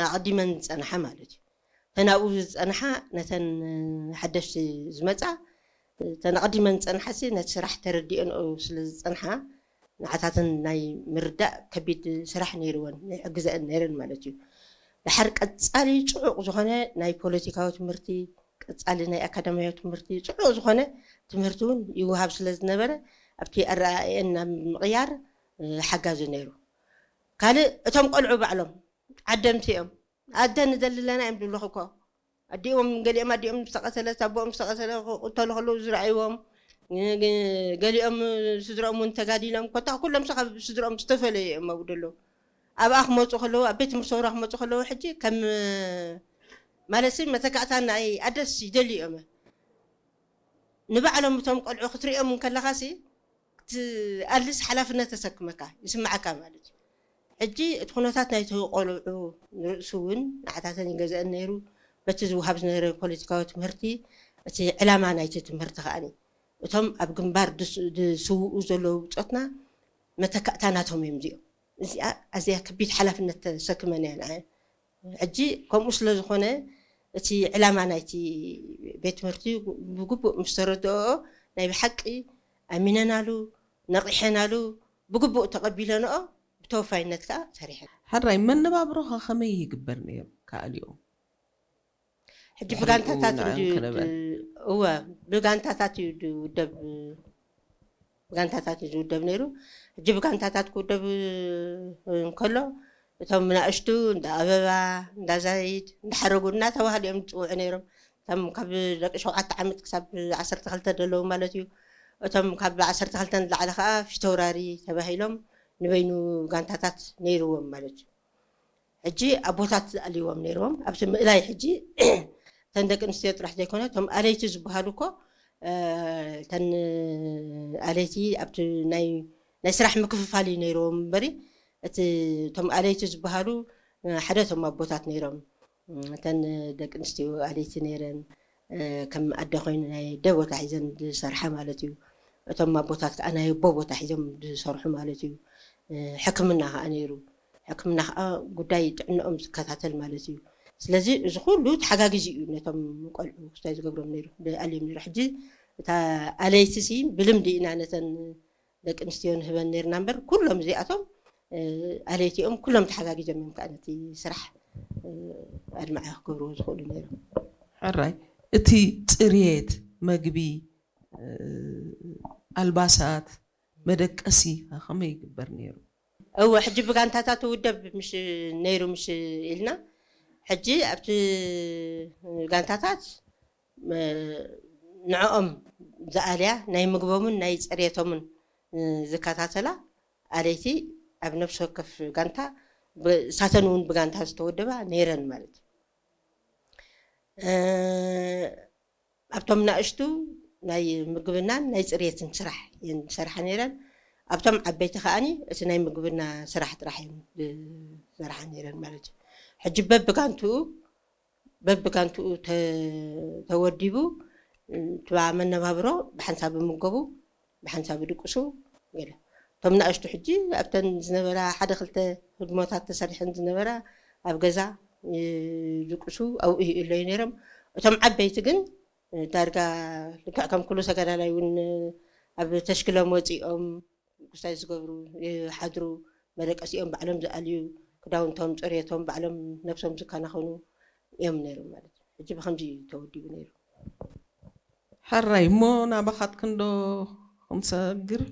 ኣቐዲመን ዝጸንሓ ማለት እዩ። እተን ኣብኡ ዝጸንሓ ነተን ሓደሽቲ ዝመጻ፣ እተን ኣቐዲመን ዝጸንሓ ሲ ነቲ ስራሕ ተረዲኦንኦ ስለ ዝጸንሓ፣ ንዓታተን ናይ ምርዳእ ከቢድ ስራሕ ነይርወን፣ ይሕግዘአን ነይረን ማለት እዩ። ድሓር ቀጻሊ ጽዑቕ ዝኾነ ናይ ፖለቲካዊ ትምህርቲ፣ ቀጻሊ ናይ ኣካዳሚያዊ ትምህርቲ፣ ጽዑቕ ዝኾነ ትምህርቲ እውን ይወሃብ ስለ ዝነበረ ኣብቲ ኣረኣእየን ናብ ምቕያር ሓጋዚ ነይሩ። ካልእ እቶም ቆልዑ ባዕሎም ዓደምቲ እዮም። ኣደ ንደሊ ኣለና እዮም ዝብሉኽ እኮ። ኣዲኦም፣ ገሊኦም ኣዲኦም ዝተቐተለት፣ ኣቦኦም ዝተቐተለ ክቕተሉ ከለዉ ዝረኣይዎም፣ ገሊኦም ስድሮኦም እውን ተጋዲሎም፣ ኮታ ኩሎም ሰብ ካብ ስድሮኦም ዝተፈለዩ እዮም ኣብኡ ዘለዉ። ኣብኣ ክመፁ ከለዉ፣ ኣብ ቤት ትምህርቲ ሰውራ ክመፁ ከለዉ ሕጂ ከም ማለት ሲ መተካእታ ናይ ኣደስ ይደልዩ እዮም። ንባዕሎም እቶም ቆልዑ ክትሪኦም እንከለኻ ሲ ትኣልስ ሓላፍነት ተሰክመካ ይስምዓካ ማለት እዩ። ሕጂ እቲ ኩነታት ናይቲ ቆልዑ ንርእሱ እውን ንዓታተን ይገዝአን ነይሩ። በቲ ዝወሃብ ዝነበረ ፖለቲካዊ ትምህርቲ እቲ ዕላማ ናይቲ ትምህርቲ ከኣኒ እቶም ኣብ ግንባር ድስ- ዝስውኡ ዘለዉ ብጾትና መተካእታ ናቶም እዮም እዚኦም። እዚኣ ኣዝያ ከቢድ ሓላፍነት ተሰክመን እያ ንዓይ። ሕጂ ከምኡ ስለ ዝኾነ እቲ ዕላማ ናይቲ ቤት ትምህርቲ ብግቡእ ምስ ተረድኦ ናይ ብሓቂ ኣሚነናሉ ነቒሐናሉ ብግቡእ ተቐቢለንኦ ብተወፋይነት ከዓ ሰሪሐን። ሕራይ መነባብሮኻ ከመይ ይግበር ነይሩ ከኣልዮ? ሕጂ ብጋንታታት እዩ እወ ብጋንታታት እዩ ዝውደብ ብጋንታታት እዩ ዝውደብ ነይሩ። ሕጂ ብጋንታታት ክውደብ እንከሎ እቶም ናእሽቱ እንዳ ኣበባ፣ እንዳ ዛይድ፣ እንዳ ሓረጉ እናተባህሉ እዮም ዝፅውዑ ነይሮም። እቶም ካብ ደቂ ሸውዓተ ዓመት ክሳብ ዓሰርተ ክልተ ዘለዉ ማለት እዩ። እቶም ካብ ዓሰርተ ክልተ ንላዕሊ ከዓ ፊተውራሪ ተባሂሎም ንበይኑ ጋንታታት ነይርዎም ማለት እዩ። ሕጂ ኣቦታት ዝኣልይዎም ነይርዎም ኣብቲ ምእላይ ሕጂ እተን ደቂ ኣንስትዮ ጥራሕ ዘይኮነ እቶም ኣለይቲ ዝበሃሉ እኮ እተን ኣለይቲ ኣብቲ ናይ ናይ ስራሕ ምክፍፋል እዩ ነይርዎም እምበሪ እቲ እቶም ኣለይቲ ዝበሃሉ ሓደ እቶም ኣቦታት ነይሮም እተን ደቂ ኣንስትዮ ኣለይቲ ነይረን ከም ኣደ ኮይኑ ናይ ኣደ ቦታ ሒዘን ዝሰርሓ ማለት እዩ እቶም ኣቦታት ከዓ ናይ ኣቦ ቦታ ሒዞም ዝሰርሑ ማለት እዩ ሕክምና ከዓ ነይሩ ሕክምና ከዓ ጉዳይ ጥዕንኦም ዝከታተል ማለት እዩ ስለዚ እዚ ኩሉ ተሓጋጊዚ እዩ ነቶም ቆልዑ ክስታይ ዝገብሮም ነይሩ ኣልዮም ነይሩ ሕጂ እታ ኣለይቲ ሲ ብልምዲ ኢና ነተን ደቂ ኣንስትዮ ንህበን ነርና እምበር ኩሎም እዚኣቶም ኣለይቲኦም ኩሎም ተሓጋጊዞም እዮም ከዓ ነቲ ስራሕ ኣድማዒ ክገብርዎ ዝኽእሉ ነይሮም ሕራይ እቲ ፅርየት መግቢ ኣልባሳት መደቀሲ ከመይ ይግበር ነይሩ እወ ሕጂ ብጋንታታት ውደብ ምሽ ነይሩ ምሽ ኢልና ሕጂ ኣብቲ ጋንታታት ንዕኦም ዝኣልያ ናይ ምግቦምን ናይ ፅርየቶምን ዝከታተላ ኣለይቲ ኣብ ነፍሲ ወከፍ ጋንታ ሳተን እውን ብጋንታ ዝተወደባ ነይረን ማለት እዩ ኣብቶም ናእሽቱ ናይ ምግብናን ናይ ፅርየትን ስራሕ እየን ዝሰርሓ ነይረን ኣብቶም ዓበይቲ ከዓኒ እቲ ናይ ምግብና ስራሕ ጥራሕ እየን ዝሰርሓ ነይረን ማለት እዩ ሕጂ በብጋንትኡ በብጋንትኡ ተወዲቡ ትባ መነባብሮ ብሓንሳብ ምገቡ ብሓንሳብ ድቅሱ ገለ እቶም ንኣሽቱ ሕጂ ኣብተን ዝነበራ ሓደ ክልተ ህድሞታት ተሰሪሐን ዝነበራ ኣብ ገዛ ድቅሱ ኣብኡ ይእለዩ ነይሮም እቶም ዓበይቲ ግን ዳርጋ ልክዕ ከም ኩሉ ተጋዳላይ እውን ኣብ ተሽክሎም ወፂኦም ጉሳይ ዝገብሩ ይሓድሩ መደቀሲኦም ባዕሎም ዝኣልዩ ክዳውንቶም ፅሬቶም ባዕሎም ነብሶም ዝከናኸኑ እዮም ነይሮም ማለት እዩ ሕጂ ብከምዚ እዩ ተወዲቡ ነይሩ ሕራይ እሞ ናባኻት ክንዶ ክንሰግር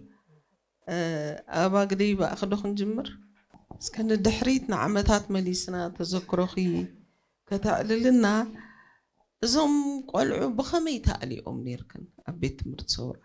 ኣባግደይ ብኣኽዶ ክንጅምር እስከ ንድሕሪት ንዓመታት መሊስና ተዘክሮኺ ከተዕልልና እዞም ቆልዑ ብኸመይ ተኣሊኦም ነይርክን ኣብ ቤት ትምህርቲ ሰውራ